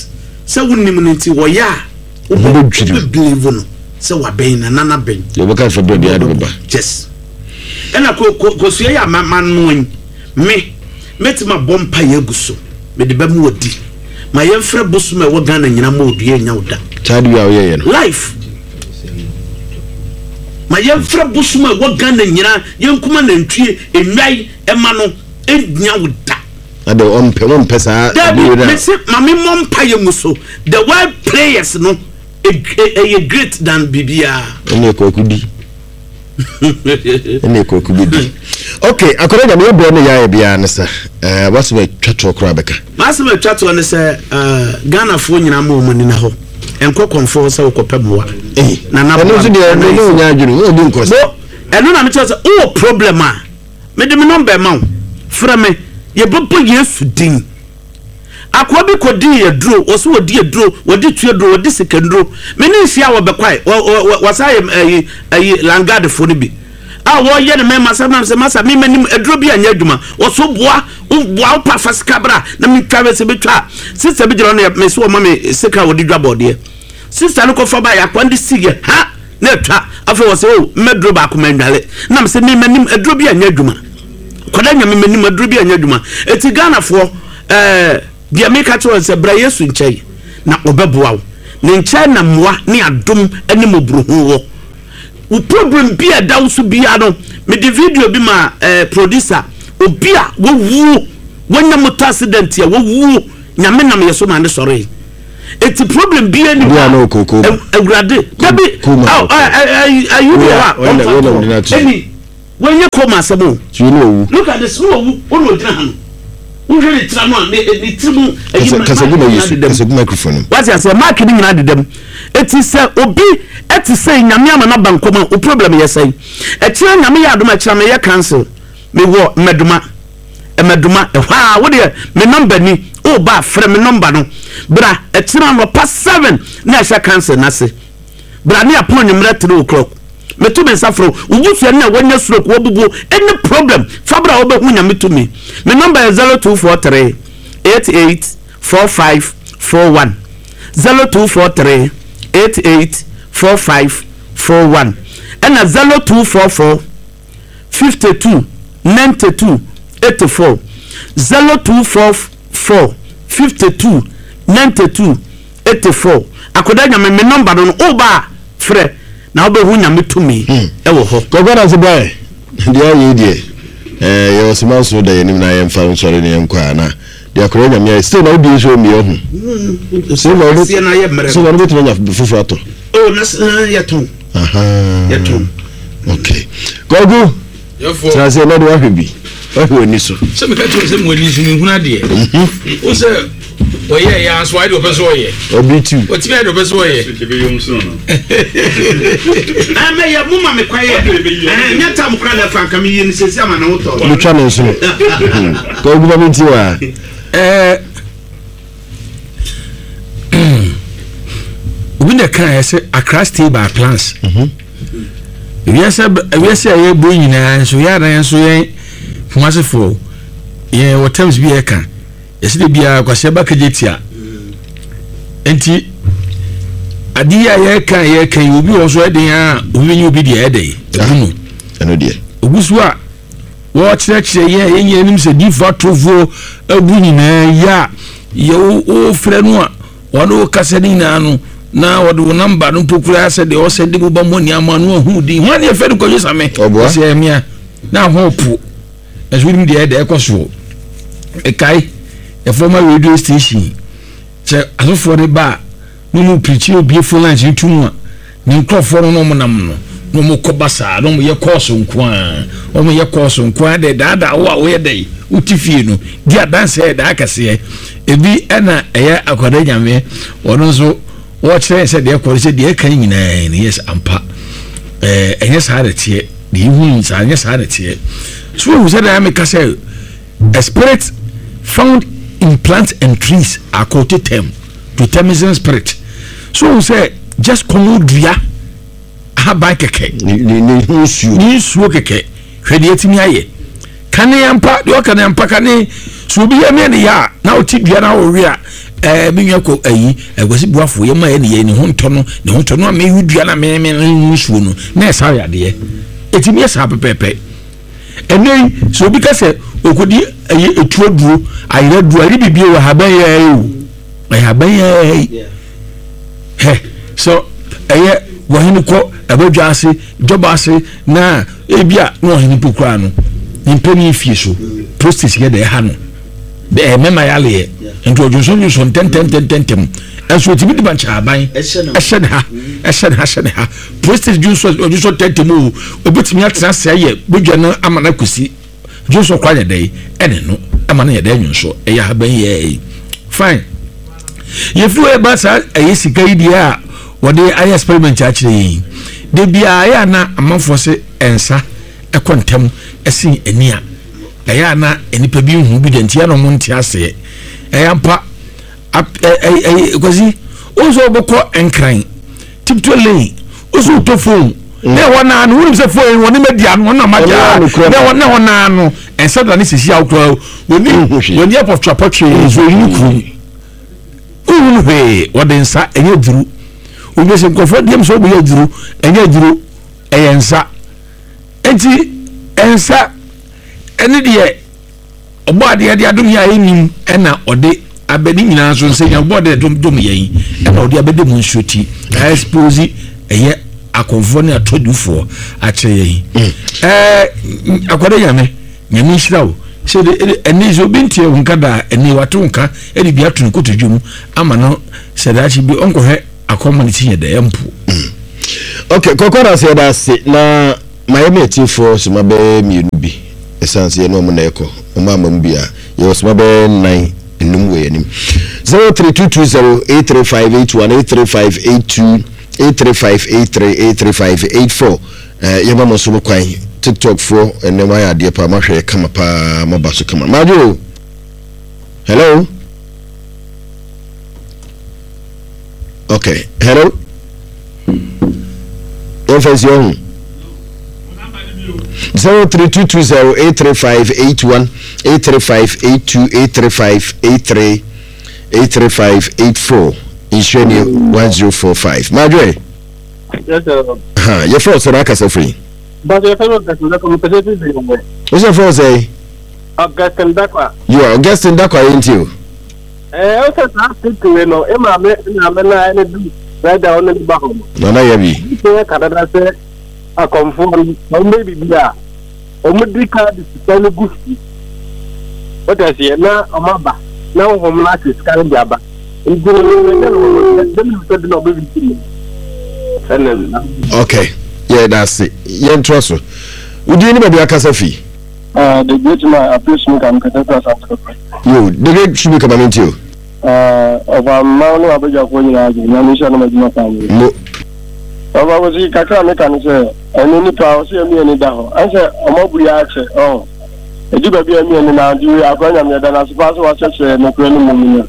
sɛ wonim no nti wɔyɛ a wobɛ wobɛ believe no sɛ wabɛn na nana bɛn. Yɛ bɛka fɛ bɛɛ biara de bɛba. Yes. Ɛna ko ko kosua yi a ma ma noa yi me mɛtumi abɔ mpaeɛ agu so mede bɛma wadi. Ma yɛmfrɛ bosom a ɛwɔ Ghana nyina ma odua nya wo da. Saa de wi a woyɛyɛ no. Life. Ma yɛmfrɛ bosom a ɛwɔ Ghana nyina yɛnkuma nantwie nnwae ɛma no ɛnya wo da. Ade ɔmpɛ wɔmpɛ saa. Dabi mese ma me mmɔ mpaeɛ ngu so the word prayers no ɛyɛ great than biribiara. Ɛne kwaku di. Ɛne kwaku bi di. Ok, akɔda nyame yɛ brɛ ne yɛayɛ biara ne sa. Eh, wasɛm atwa toɔ koraa bɛka. Masɛm atwa toɔ ne sɛ eh, Ghanafoɔ nyinaa ma wɔn ani na hɔ. Nkɔ kɔmfoɔ hɔ sɛ wokɔpɛ mmoa. Eh, Na na ɛno nso deɛ ɛno ne wonya adwene, wo obi nkɔ sɛ. Ɛno na mekyerɛ sɛ wowɔ problem a, mede me nɔmba ma wo. Frɛ me, yɛbɛbɔ Yesu din. Akoa bi kɔdii aduro, wɔse wɔdi aduro, wɔdi tuaduro, wɔdi sikanduro. Me ne nhyia a wɔbɛkwae, wɔsan yɛ ayi ayi langadefoɔ no bi a wɔyɛ ne mɛma sɛ nam sɛ masa me m'anim aduro bi anyɛ adwuma. Wɔso boa, boa wo pa fa sika bra na metwa bɛ sɛ bɛtwa a. Sista bi gyina hɔ na me so wɔma me sika a wɔde dwa bɔɔdeɛ. Sista no kɔfa baeɛ, akoa no de siiɛ ha na atwa. Afei wɔse o mmɛduro baako mannwale. Nam sɛ me m'anim aduro bi anyɛ adwuma. Kwada nyame m'anim aduro bi anyɛ adwuma. Eti Ghanafoɔ ɛɛ deɛ meka kyerɛ wɔn sɛ bra Yesu nkyɛn na ɔbɛboa wo. Ne nkyɛn na mmoa ne adom ne mmɔborɔhunu wɔ. Wo problem bi a ɛda wo so biara no, mede video bi ma ɛɛ producer, obi a wawuo, wanya motor accident a wawuo, nyame nam yɛ so ma ne sɔree. Eti problem bia ni hɔ a awurade dabi ayi bi wɔ a ɔmfa to ɛni wɔnyɛ kɔma asɛm o. Look at this, ne wawu, ɔna ɔgyina ha no. Wohwɛ ne tira no a, ne ne tiri mu ɛyi mark no nyinaa deda mu. Wate aseɛ, mark no nyinaa deda mu. Eti sɛ obi ɛte sɛ nyame ama no aba nkɔm a, wo problem yɛ sɛn? Ɛkyerɛ nyame yɛ adom a, ɛkyerɛ meyɛ council, mewɔ mmɛdoma. Mmaduma, ɛhɔ ara, wo deɛ me nɔmba ni, woba a frɛ me nɔmba no, bra ɛkyena anɔpa 7 na ɛhyɛ council no ase, bra ne apɔn anwummerɛ 3 o'clock, meto me nsa frɛ wo, wo busuani a wanya stroke, wabubuo, any problem, fa bra wobɛhu Nyame tumi. Me nɔmba yɛ 0243 88 45 41, 0243 88 45 41, ɛna 0244. 52 92 84 0244 52 92 84 Akwadaa Nyame me number no no woba a frɛ na wobɛhu Nyame tumi hmm. ɛwɔ hɔ. Kɔkɔ na se bɛɛ deɛ ayɛ yi deɛ ɛɛ yɛ ɔsoma nso da yɛn anim na yɛmfa nsɔre ne yɛn kɔ a na deɛ akwadaa Nyame ayɛ still na wodie nso mmea ho. Still na wobɛ still na wobɛtumi anya foforɔ atɔ. Oh na yɛtɔn. Yɛtɔn. Okay. Kwaku. Tena ase na de wahwɛ bi. Wahwɛ w'ani so. Sɛ meka kyerɛ sɛ mo ani so mehunu adeɛ. Mhm. Wo sɛ wɔyɛ yɛ aso ayɛ deɛ ɔpɛ so ɔyɛ. Ɔbi tu. Ɔtumi ayɛ deɛ ɔpɛ so ɔyɛ. Ɛmɛ yɛ mo ma me kwa yɛ. Ɛnyɛ tam kora na ɛfa nka me yie no sɛsi ama ne ho tɔ. Metwa ne nsono. Kwaku ba mi ti wa. Ɛɛ. Obi na ɛka yɛ sɛ Accra stay by plans. Mhm. Wiase wiase a yɛbɔ nyinaa nso yɛ adan nso yɛn Kumasefoɔ yɛn wɔ terms bi yɛka yɛsɛ de biara kwasi ɛba kegye tia nti ade yi a yɛka yɛka yi obi wɔ so ɛden a obi bɛnyɛ obi deɛ ɛdɛ ɛgu no ɛno deɛ ogu so a Wɔkyerɛkyerɛ yɛn a yɛn nyinaa nim sɛ diifo atorofoɔ abu nyinaa yi a yɛ wofrɛ no a wɔne wo kasa no nyinaa no na wɔde wo namba no mpo koraa sɛ deɛ ɔsɛ de boba mmɔ nneɛma no ahu din hwan ne yɛfrɛ no kwadwo same ɔsɛ ɛmea na ho po ɛso wonim deɛ ɛdɛ ɛkɔ soɔ ɛkae ɛfɔma radio station sɛ asɔfoɔ no ba a na wɔn pirikyi obie phone lines no to mu a ne nkurɔfoɔ no na wɔn nam no na wɔn kɔ basaa na wɔn yɛ kɔɔso nko ara wɔn yɛ kɔɔso nko ara dɛ daadaa wo a woyɛ dɛ wote fie no di adanseɛ yɛ daa kɛseɛ ebi ɛna ɛyɛ akwadaa nyame wɔn nso wɔkyerɛ sɛ deɛ kɔ sɛ deɛ ɛka nyinaa no yes ampa ɛɛ ɛnyɛ saa na ɛteɛ deɛ ehu saa ɛnyɛ saa na ɛteɛ so ehu sɛ deɛ ameka sɛ. A spirit found in plants and trees are called totem. Totemism spirit. So ohun sɛ just kɔn dua ahaban kɛkɛ. Ne ne nsuo. Ne nsuo kɛkɛ. Hwɛ deɛ etimi ayɛ. Kane ampa deɛ ɔka ne ampa kane so obi yɛ ne yɛ a na ɔte dua na ɔwe a ɛɛ me nua kɔ ayi ɛkwasi buafo yɛ ma yɛ ne yɛ ne ho ntɔ no ne ho ntɔ no a mewi dua na me me nsuo no na ɛsa yɛ adeɛ etimi yɛ saa pɛpɛɛpɛ. Ɛnnɛ yi, sɛ obi ka sɛ ɔkɔdi ɛyɛ etu aduro, ayerɛ aduro, ayere biribi wɔ ahaban yɛ ɛyɛ o, ɛyɛ ahaban yɛ ɛyɛ. Hɛ, sɛ ɛyɛ wɔhene kɔ ɛbɛdwa ase, dwɔba ase, na ebi a na ɔhene mpo koraa no, ne mpanin fie so, prostate yɛ dɛ ɛha no. Ɛɛ mɛma yaleɛ, nti ɔdwonsɔndwonsɔ ntɛntɛntɛntɛm. Ɛnso otumi de bankyaban ɛhyɛ ne ha, ɛhyɛ ne ha, hyɛ ne ha. Prostate dwonsɔ ɔdwonsɔ ntɛntɛm o, obetumi atena ase ayɛ bodwa no ama no akosi dwonsɔ kora yɛ dɛ ɛne no ama no yɛ dɛ nwonsɔ ɛyɛ ahaban yɛ ɛyi fine. Yɛfiri hɔ ɛba saa ɛyɛ sika yi deɛ a wɔde ayɛ experiment akyerɛ yɛn yi de biara ɛyɛ ana amanfoɔ se nsa ɛkɔ ntɛm ɛsen ani a ɛyɛ ana nnipa bi nhu bi deɛ nti ɛna wɔn nte aseɛ ɛyɛ ampa kwasi wɔn nso wɔbɛkɔ nkran. Tiptoe lane wosi wotɔ phone mm. na ɛhɔ naa no wonim sɛ phone yi wɔne ma di ano wɔn na ma gya na ɛhɔ na ɛhɔ naa no ɛnsɛ da ne sisi awokora wɔni wɔni apɔtwe apɔtwe nso eyi ne kurom wohu no hwee wɔde nsa ɛnyɛ aduru obi sɛ nkurɔfoɔ deɛm sɛ wɔbɛyɛ aduru ɛnyɛ aduru ɛyɛ nsa nti nsa ɛne deɛ Ɔbɔ adeɛ de adom yɛn a yɛnnim ɛna ɔde abɛ ne nyinaa nso nsɛ yɛn ɔbɔ adeɛ dom dom yɛn ɛna ɔde abɛde mu nsuo ti expose ɛyɛ akɔnfoɔ ne atɔdufoɔ akyerɛ yɛn mm. ɛɛ akɔde nyame nyame nhyira wo Sɛ de ɛde ɛnne sɛ obi nteɛ wo nka da a, ɛnne wate wo nka ɛde bi ato ne kotodwe mu ama no sɛ daakye bi ɔnkɔhwɛ akɔma ne ti nyɛ dɛ ɛmpo. Ok, kɔkɔ na sɛ yɛda ase na mayɛ me atiefoɔ soma bɛyɛ mmienu bi ɛsiane sɛ yɛne ɔmo na ɛkɔ ɔmo ama mu bi a yɛwɔ soma bɛyɛ nnan nnum wɔ yɛn anim 03220 83581 83582 83583 83584 Eh yɛma mo nso mo kwan tiktok foɔ ɛnɛ mo ayɛ adeɛ paa mo ahwɛ yɛ kama paa mo aba so kama madwo hello okay hello yɛmfa nsi ɔho 03220 83581 83582 83583 83584 nhyira ni 1045 madwo Yes, sir. Ha, yɛfrɛ wo sɛ na akasa firi. Bàtɛ yɛfrɛ mi Augustine Dakwa, mepɛ sɛ efi firi wɔ. Wo sɛ frɛ wo sɛ? Augustine Dakwa. Yo, Augustine Dakwa yɛ nti o. Ɛɛ, wo sɛ saa state wei no, e maame e maame na ɛne du brɛda ɔne ne ba hɔ no. Nana yɛ bi. Sɛ yɛ ka dada sɛ akɔmfoɔ no, wɔn bɛ bibi a, wɔn di ka de sika no gu fi. Wote aseɛ na wɔn aba na honhom no ate sika no de aba. Nti no no no no sɛ de na ɔbɛ bi mu. Ɛna. Okay, yɛ da ase. Yɛntoa so. Wodin ne baabi akasa fi? Uh, the great man, Apio Shumika, mekasa fi Asante Kɔkɔ. Yo, the great Shumika, ma mente o. Ɔfa mma ne wabadwafoɔ nyinaa adwo, Nyame nhyira no madwuma paa no. Mo. Ɔfa kɔsi kakra meka ne sɛ, ɛne nipa ɔsɛ yɛmi ani da hɔ, ɛnsɛ ɔmo abu yɛ akyɛ, ɔho. Ɛdu baabi a ɛmi ani na nti wei akora Nyame yɛda no ase paa sɛ wakyerɛkyerɛ nokorɛ no mmom no.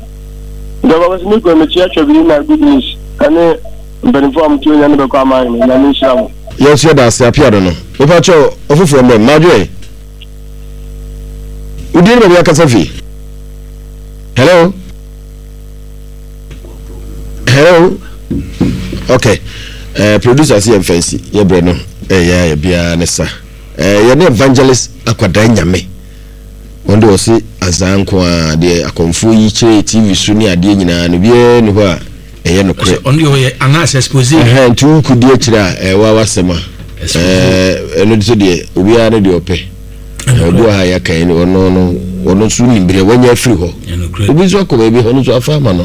Nti ɔfa kɔsi me kura mekyia Twabiri na good news ɛne mpanimfoɔ a mote onya ne bɛkɔ ama ahene, Nyame nhyira mo. Yɛn nso yɛda ase Apiado no. Mepa kyɛw ɔfoforɔ mmrɛ me. Madwoe. Wo din ne baabi akasa fi? Hello? Hello? Okay. Uh, producer si yɛn fɛnsi yɛ brɛ no ɛyɛ ayɛ biara ne sa. Uh, yɛne evangelist akwadaa nyame. Wɔn de wɔse azaa nko ara deɛ akɔmfoɔ yi kyerɛ TV so ne adeɛ nyinaa no biara ni hɔ a ɛyɛ nokorɛ. Ɔno deɛ ɔyɛ anaasɛ expose. Ɛhɛn nti wo kodi akyire a ɛwɔ awasɛm a ɛno nso deɛ obiara ne deɛ ɔpɛ. Obi wɔ ha yɛaka yi ɔno no ɔno nso nim berɛ wanya afiri hɔ. Obi nso akɔ baabi ɔno nso afa ama no.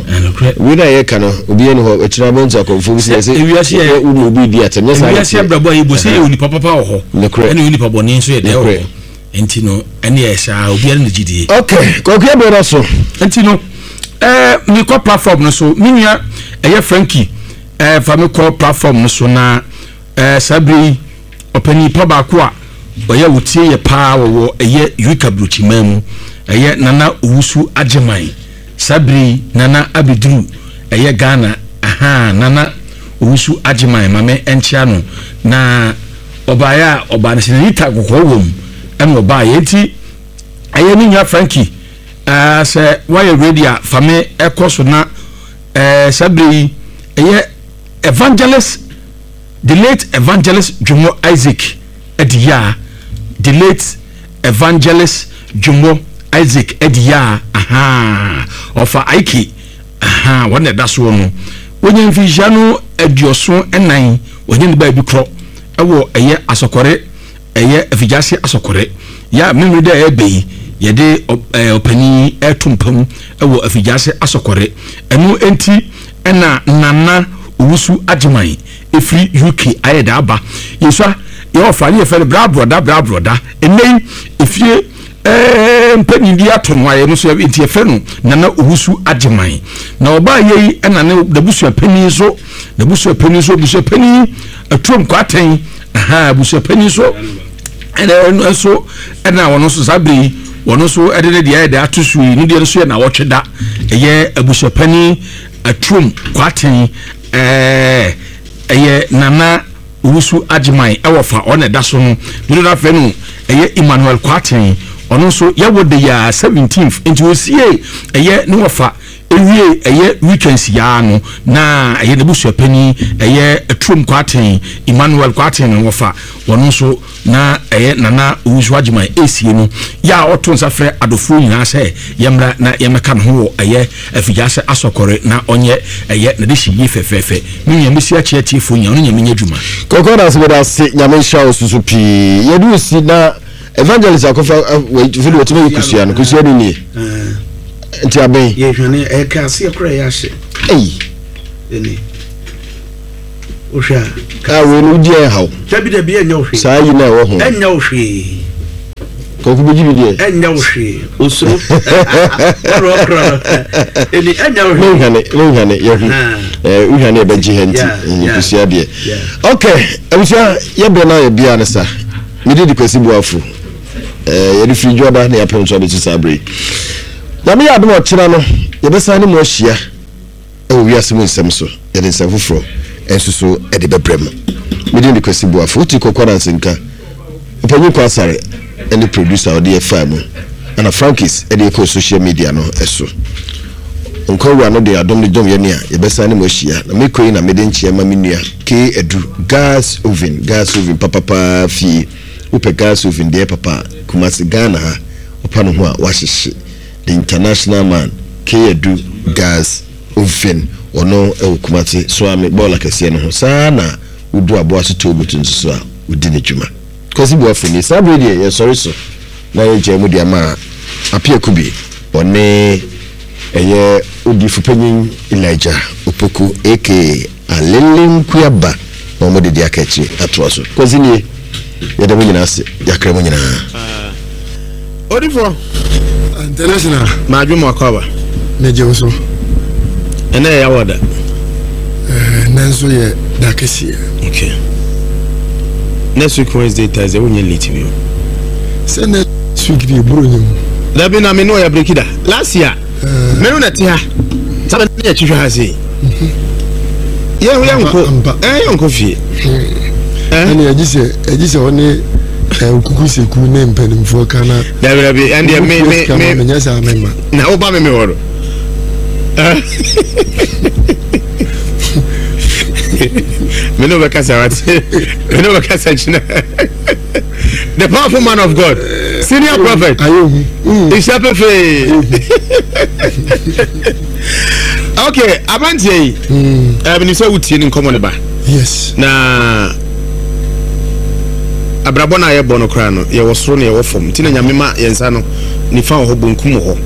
Wei na yɛka no obiara ni hɔ akyire abɛn nso akɔmfoɔ bi sɛ sɛ wo na obi di atɛm nyɛ saa. Ewiase abrabɔ a yɛbɔ sɛ yɛ onipa papa wɔ hɔ. Ɛne onipa bɔne nso yɛ dɛ wɔ hɔ. Nti no ɛne yɛ saa obiara ne gyidie. Okay, Kwaku yɛ bɛrɛ so. Nti no ɛɛ mekɔ platform no so me nua ɛyɛ Frankie ɛɛ fa me kɔ platform no so na ɛɛ saa bere yi ɔpanin pa baako a ɔyɛ wotie yɛ paa wɔwɔ ɛyɛ Eureka Burokyiman mu ɛyɛ Nana Owusu Agyeman saa bere yi Nana abɛduru ɛyɛ Ghana ahaa Nana Owusu Agyeman mame ɛnkyea no na Ɔbaeɛ a ɔbaa no sɛ n'ani ta kɔkɔɔ wɔ mu ɛna ɔbaeɛ nti ɛyɛ ne nua Frankie ɛɛ sɛ wayɛ ready a fa me ɛkɔ so na ɛɛ saa bere yi ɛyɛ evangelist the late evangelist Dwomɔ Isaac Adiyaa the late evangelist Dwomɔ Isaac Adiyaa ahaa ɔfa Aike Ahaa, wɔn na ɛda soɔ no. Wɔnya mfinhyia no aduɔson ɛnan, wɔnya ne baabi korɔ ɛwɔ ɛyɛ asɔkɔre, ɛyɛ afigyase asɔkɔre. Yɛ a mmemmere dɛ ɛɛbɛ yi, yɛde ɔpanin yi ɛɛto mpa mu ɛwɔ afigyase asɔkɔre. Ɛno nti ɛna Nana Owusu Agyeman ɛfiri UK ayɛ dɛ aba. Yɛsua, yɛ ɔfa ne yɛfrɛ no Bra Brɔda, Bra Brɔda. Ɛnnɛ yi, efie. Ɛɛ mpanyin bi ato no ayɛ no so nti yɛfrɛ no Nana Owusu Agyeman. Na ɔbaa yɛ yi ɛna ne n'abusua panyin nso n'abusua panyin nso abusua panyin Atuom Kwatɛn aha abusua panyin nso ɛna ɛno nso ɛna wɔn nso saa bere yi wɔn nso ɛde ne deɛ ɛde ato so yi ne deɛ nso yɛ na wɔtwe da ɛyɛ abusua panyin Atuom Kwatɛn ɛɛ ɛyɛ Nana Owusu Agyeman wɔ fa ɔna ɛda so no dodoɔ no afrɛ no ɛyɛ Emmanuel Kwarteng ɔno nso yɛwɔ de yɛ 17th nti ɔsie ɛyɛ ne wɔfa ewie ɛyɛ weekends yaa no na ɛyɛ n'abusuapanin ɛyɛ Atuom Kwarteng Emmanuel Kwarteng no wɔfa ɔno nso Na ɛyɛ Nana Owusu Agyeman esie no yɛ a ɔto nsa frɛ adɔfoɔ nyinaa sɛ yɛmmra na yɛmmɛka ne ho wɔ ɛyɛ Afigyase Asɔkɔre na ɔnyɛ ɛyɛ n'adehye yie fɛfɛɛfɛ. Me nua mɛsi akyea atiefoɔ nyinaa, ɔne Nyame nyɛ adwuma. Kɔkɔ dase meda ase nyame nhyira wo soso pii yɛde wo si na. Evangelist akɔfa fili wɔtumi yi kusua no kusua no nie. Nti abɛn. Yɛhwane ɛka aseɛ koraa yɛ ahye. Ei. Ɛni. Wohwɛ a. A wei no wodi ɛhaw. Dabi dabi ɛnyɛ wo hwee. Saa yi na ɛwɔ ho. Ɛnyɛ wo hwee. Kɔkɔ bɛgye bi deɛ. Ɛnyɛ wo hwee. Osuro. Ɔrɔ ɔkorɔ no. Ɛni ɛnyɛ wo hwee. Menhwane menhwane yɛhu. Ɛɛ wohwane ɛbɛgye ha nti kusua deɛ. Okay abusua yɛbrɛ no ayɛ bia ne sa. Mede di Kwasi Boafo. Ɛɛ yɛde firi dwoada na yɛapem so abɛsi saa bere yi. Nyame yɛ adom ɔkyena no yɛbɛsan ne mu ahyia. Wɔ wiase mu nsɛm so, yɛde nsɛm foforɔ nso so de bɛbrɛ mo. Me din de Kwasi Boafo, wote Kɔkɔ Ananse nka. Ɔpanyin Kwaa Asare ne producer a ɔde yɛ faa mu, ɛna Frankis de yɛ kɔɔ social media no so. Nkwa Wura no de adom no dom yɛn a, yɛbɛsan ne mo ahyia. Na mekɔ yi na mede nkyea ma me nua K. Adu, Gas Oven, Gas Oven papapaa fie. Wopɛ gas oven deɛ papa a, Kumasi, Ghana ha, wopa ne ho a, woahyehye. The International Man, K Adu Gas Oven, ɔno wɔ Kumasi, Soame bɔɔla kɛseɛ no ho. Saa ara na wodu Aboaso Toll Booth nso so a, ɔdi ne dwuma. Kwasi Boafo nie. Saa berɛ yi deɛ yɛsɔre so na yɛgyae mu de ama Appiah Kubi, ɔne ɛyɛ Odiyifopanyin Elijah Opoku aka. Alele nkuaba na wɔde de aka akyire atoa so. Kwasi nie, yɛda mo nyinaa ase, yɛakra mo nyinaa. Odifo. International. Maadwo mo akɔ aba. Megye wo so. Ɛnɛ yɛ yawa da. Ɛnɛ nso yɛ da kɛseɛ. Okay. Next week Wednesday Thursday wonyɛ late bi o. Sɛ next week deɛ eburo nyɛ mu. Dabi na me ne ɔyɛ breki da. Last year. Me no na te ha. Sɛ ne yɛ twihwɛ ha sei. Yɛn yɛn nko ɛn yɛn nko fie. Ɛne ɛgye sɛ ɛgye sɛ ɔne okuku seku ne mpanimfoɔ ka na. Dabi dabi ɛn deɛ me me me menyɛ saa me ma. Na wo ba me me hɔ no. Me ne wobɛkasa wate me ne wobɛkasa kyina. The powerful man of God, senior prophet. Nhyia pefee. Okay, aberanteɛ yi, ɛɛ sɛ wotie ne nkɔmmɔ ne ba. Yes. Na abrabɔ no a yɛbɔ no koraa no, yɛwɔ soro na yɛwɔ fam. Nti na Nyame ma yɛn nsa no nifa wɔ hɔ, bonkum wɔ hɔ.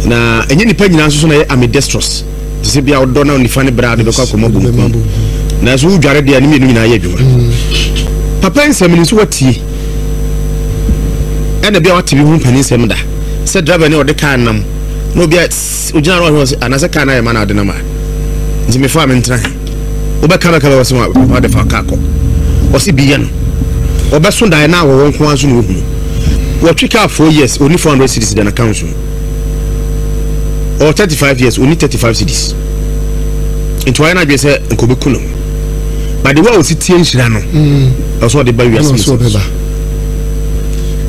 Na ɛnyɛ nipa nyinaa nso so na yɛ ambidextrous. Te sɛ bia ɔdɔ na nifa ne bra de bɛkɔ akɔma bonkum. Nanso wodware deɛ ne mmienu nyinaa yɛ adwuma. Papa nsɛm no nso watie. Ɛna bia wate bi ho mpanin nsɛm da. Sɛ driver ne ɔde kaa nam na obi a ogyina no ɔhwɛ ɔsɛ anaasɛ kaa no ayɛ ma na ade nam a. Nti mefa a mentena he. Wobɛka bɛka bɛwɔ sɛ papa de fa kaa kɔ. Ɔse bi yɛ no. Ɔbɛso daeɛ na awɔwɔ nko ara nso na ohunu. Wɔtwe kaa 4 years, ɔni 400 cedis da n'account mu. Ɔwɔ 35 years, ɔni 35 cedis. Nti wayɛ n'adwene sɛ nka ɔbɛku ne ho. But the way a ɔsi tie nhyira no, mm. ɛwɔ sɛ ɔde ba wiase mu sɛ.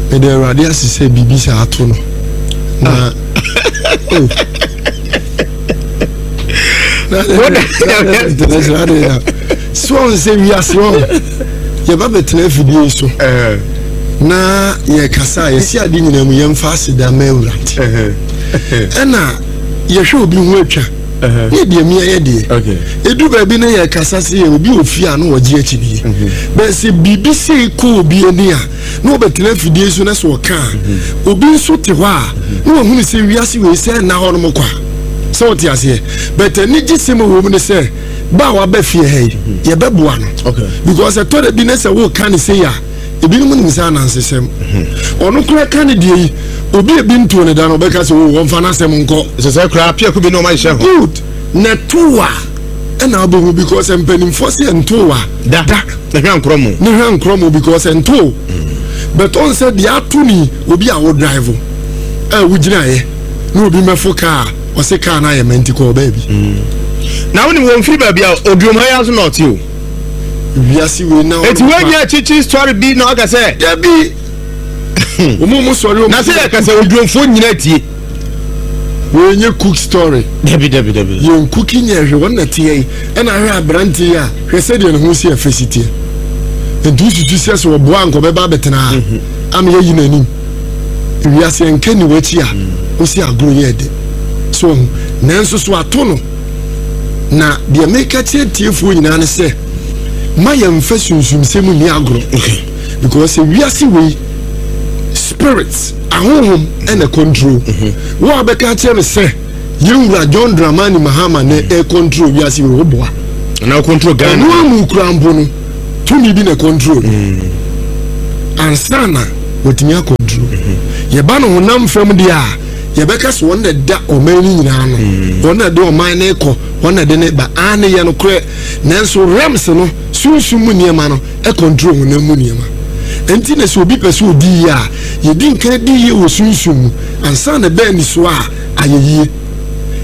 Mede Awurade ase sɛ biribi saa ato no. Na ah. oh. So ɔn sɛ wiase ɔn yɛba bɛtena afidie yi so na yɛkasa a yɛsi ade nyinaa mu yɛmfa aseda ma Awurade ɛna yɛhwɛ obi ho atwa ne deɛ mia yɛ deɛ ɛdu baabi na yɛkasa sɛ yɛ obi ofie a na wɔgye akyinie mhm. bɛɛ sɛ biribi sei kɔ obi ani a na wɔbɛtena afidie so na sɛ ɔka a mhm. obi nso te hɔ a na wɔhunu sɛ wiase wei sɛ nna hɔ nom kwa sɛ wɔte aseɛ but anigye sɛm wɔ mu ne sɛ ba a waba fie ha yi mhm. yɛbɛboa no because ɛtɔ da bi ne sɛ woka ne sei a ebinom nim sɛ anansesɛm ɔno koraa ka ne deɛ yi obi ebi ntoo ne da no ɔbɛka sɛ o wɔmfa n'asɛm nkɔ sɛ sɛ koraa piako bi na ɔma hyehyɛ ho good na ɛto a ɛna abɛhu because mpanimfoɔ sɛ ɛnto a da da ne hwɛ nkorɔ mu ne hwɛ nkorɔ mu because ɛnto but ɔn sɛ deɛ ato ni obi a wo drive a wogyinaeɛ na obi mɛfo kaa ɔse kaa no ayɛ ma nti kɔɔ baabi na wonim wɔmfiri baabi a oduom ha yi aso na ɔte o Wiase wei na Eti wei nyɛ kyikyi story bi na ɔka sɛ. Dabi. Wɔn mu sɔre wɔn. Na sɛ yɛ kasa odwomfoɔ nyina tie. Wei nyɛ cook story. Dabi dabi dabi. Yɛn cooking nyɛ hwɛ wɔn na teɛ yi ɛna ahwɛ aberante yi a hwɛ sɛdeɛ ne ho si ɛfɛ si teɛ. Nti wosusu sɛ sɛ ɔboa nka ɔbɛba abɛtena ha mhm. ama yɛyi n'anim. Wiase nka ni w'akyi a wosi agorɔ yɛ ɛdɛ. So nanso so ato no. Na deɛ meka kyerɛ tiefoɔ nyinaa ne sɛ, ma yɛmfa sunsumsɛm nni agorɔ. Because sɛ wiase wei, Spirits, ahonhom ɛna control. Wo a bɛka akyerɛ me sɛ yɛn wura John Dramani Mahama na ɛ control wiase wei, wo boa. Na control Ghana. Ɛno amu kura mpo no, tumi bi na control no. Ansa na watumi acontrol. Yɛba no honam fam deɛ a, yɛbɛka sɛ wɔn na ɛda ɔman no nyinaa no. Wɔn na ɛde ɔman no kɔ, wɔn na ɛde ne ba. Aane, yɛ nokorɛ. Nanso realms no, sunsum mu nneɛma no, control honam mu nneɛma. Enti na sɛ obi pɛ sɛ odi yie a, yɛdi nkan di yie wɔ sunsum mu ansa na ɛbɛn anisoɔ a ayɛ yie.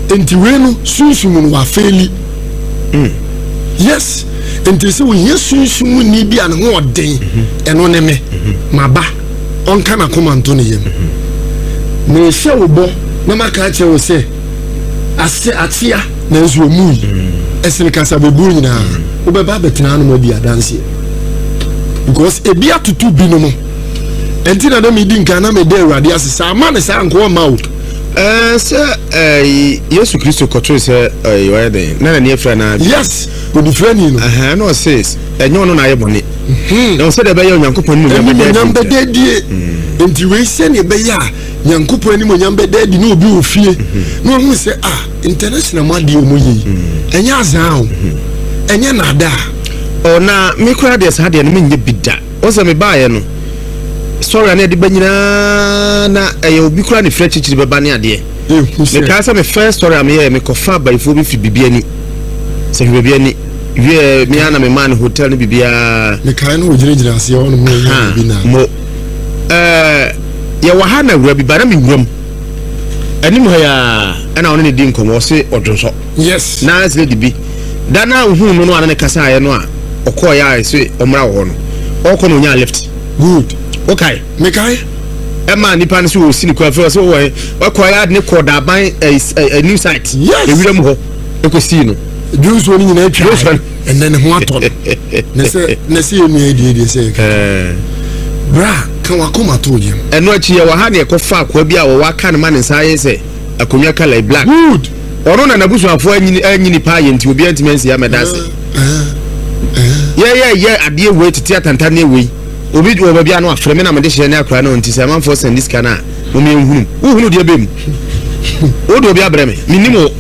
Enti wei no, sunsum mu no wafeeli. Mm. Yes. Enti sɛ ohia sunsum mu ni bi a ne ho ɔden, ɛno ne me. Maba, ɔnka n'akoma nto ne yam. Mehyɛ wo bɔ na maka akyerɛ wo sɛ, ase akyea nanso ɔmui ɛsene kasabebuo nyinaa wobɛba abɛtena anom adi adanseɛ because ebi atoto binom ɛnti na na medi nkan na meda awurade ase sɛ ama ne saa nkoa ma o. Ɛɛ sɛ ɛɛ Yesu Kristo kɔtoo sɛ ɛɛ ɔyɛ dɛn na n'ani afira na. Yes onifirani no. Ɛhɛn na ɔse ɛnyɛ ɔno na ayɛ bɔne. Mhm. Na ɔsɛ deɛ ɛbɛyɛ Onyankopɔn animuonyam bɛda adie. Nti wei sɛdeɛ ɛbɛyɛ a Nyankopɔn animuonyam bɛda adi na obi wɔ fie na ɔhu sɛ ah international mu adeɛ ɔmo yɛ yi ɛnyɛ azaa o ɛnyɛ naadaa. Ɔ na me koraa deɛ saa deɛ no menyɛ bi da wɔn sɛ mebaeɛ no sɔre a na ɛde ba nyinaa na ɛyɛ obi koraa ne fira kyikyiri bɛba ne adeɛ mekaa sɛ me first story a meyɛɛ mekɔfa abayifoɔ bi firi biribi ani sɛ hwɛ biribi ani wie me ara na memaa no hotel no biribiara mekae no wɔgyinagyina aseɛ hɔ nom na ɔyɛ biribi na mo ɛɛ Yɛwɔ ha na awura bi ba na me wuram anim ha yi ara ɛna ɔne ne di nkɔmmɔ ɔse ɔdwonsɔ. Yes. Na lady bi da na ohuu no no a na ne kasaeɛ no a ɔkɔɔeɛ a ɛse ɔmmra wɔ hɔ no ɔkɔ na ɔnyaa lift. Good. Wokae? Mekae. Ɛma nipa no sɛ ɔsi ne kwan fɛ ɔsɛ wɔ ɔkɔɔeɛ a de ne kɔɔ daaban ɛɛ new site. Yes. Ewira mu hɔ ɛkɔsii no. Dwonsuo no nyinaa atwa. Ɛnɛ ne ho atɔ no. Ne sɛ ne sɛ yɛn nua yi deɛ deɛ sɛ yɛka. Bra ka wakoma to yam. Ɛno akyi yɛwɔ ha na yɛkɔfa akoa bi a wɔwɔ aka no ma ne nsa ayɛ sɛ akonnwa colour yi black. Good. Ɔno na n'abusuafoɔ anyini anyini paa yɛ nti obiara ntumi ansi amɛda ase. Yɛyɛ yɛ adeɛ wei tete atantanneɛ wei obi wɔ baabi a no afrɛ me na mede hyɛ ne akora no nti sɛ amanfoɔ sɛnde sika no a mom yɛnhunu wohunu deɛ bɛ mu wode obi abrɛ me menim wo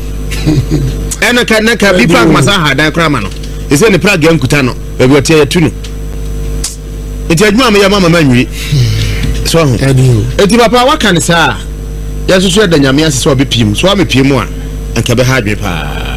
ɛna ka na ka bi park masa ha dan koraa ma no ɛsɛ ne pragya nkuta no baabi ɔteɛ yɛtu no nti adwuma a meyɛ ma mama nwie so ho nti papa waka ne saa yɛn nso so yɛda nyame ase sɛ ɔbɛpie mu so amepie mu a anka bɛha adwene paa.